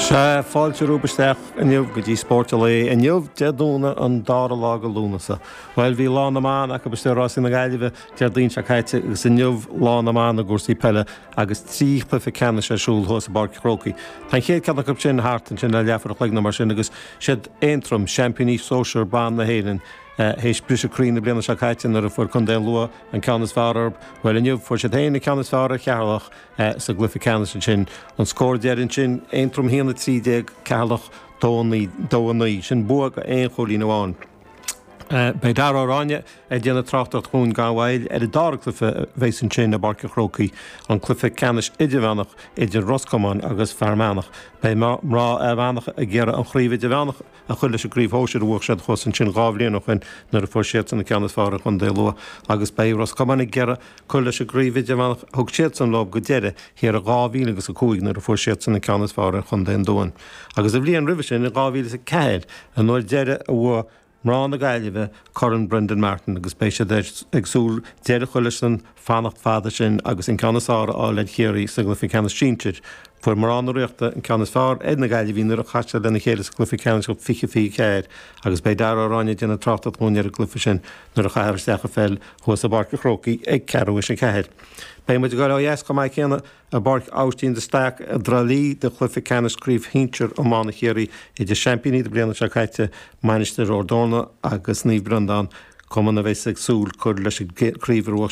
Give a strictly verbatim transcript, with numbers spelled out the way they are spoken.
Sea, fáilte romhaibh isteach inniu go dtí Spórt an Lae inniu Dé Domhnaigh an dara lá de Lúnasa. Bhuel bhí lá na mban acu istigh i Rásaí na Gaillimhe Déardaoin seo caite agus inniu lá na mban i gcúrsaí peile agus trí chluiche ceannais ar siúl thuas i bPáirc an Chrócaigh. Tá an chéad ceann acu sin thart ansin le leathuair a chloig nó mar sin agus siad Aontroim, seaimpíní sóisear ban na hÉireann, théis briseadh croí na bliana seo caite nuair a fuair Contae an Lú an ceann is fearr orthu. Bhuel inniu fuair siad féin an ceann is fearr ar Cheatharlach sa gcluiche ceannais ansin. An scór deiridh ansin, Aontroim a haon a trí déag, Ceatharlach dó a naoi, dó a naoi. Sin bua go aon chúilín amháin. Beidh Dara Ó Ráinne ag déanamh tráchtaireacht dhúinn gan mhoill ar an dara cluiche a bheas ansin i bPáirc an Chrócaigh, an cluiche ceannais idirmheánach idir Ros Comáin agus Fear Manach. Beidh mná Fhear Manach ag iarraidh an chraobh idirmheánach a chur leis an gcraobh shóisir a bhuaigh siad thuas ansin dhá bhliain ó shin nuair a fuair siadsan an ceann is fearr ar Chontae Lú agus beidh Ros Comáin ag iarraidh cur leis an gcraobh idirmheánach a thug siadsan leo go deireadh thiar i dhá mhíle agus a cúig nuair a fuair siadsan an ceann is fearr ar Chontae an Dúin. Agus an bhliain roimhe sin, in dhá mhíle is a ceathair, an uair deiridh a bhuaigh mná na Gaillimhe Corn Brendan Martin agus beidh siad ag súil deireadh a chur leis an fanacht fada sin agus an ceann is fearr a fháil ar Chiarraí sa gcluiche ceannais sinsir. Fuair mná na Ríochta an ceann is fearr ar na Gaillimhigh nuair a chas siad lena chéile sa gcluiche ceannais fiche fiche ceathair agus beidh Dara Ó Ráinne ag déanamh tráchtaireacht dhúinn ar an gcluiche sin nuair a chaithfear isteach an pheil thuas i bPáirc an Chrócaigh ag ceathrú théis a ceathair. Beidh muid ag dul ó dheas chomh maith céanna i bPáirc Aibhistín de Staic i dTrá Lí do chluiche ceannais Craobh Shinsir Iomána Chiarraí idir seaimpíní na bliana seo caite, Mainistir Ard Eorna agus Naomh Breandán, cumann a bheas ag súil cur leis an gcraobh a bhuaigh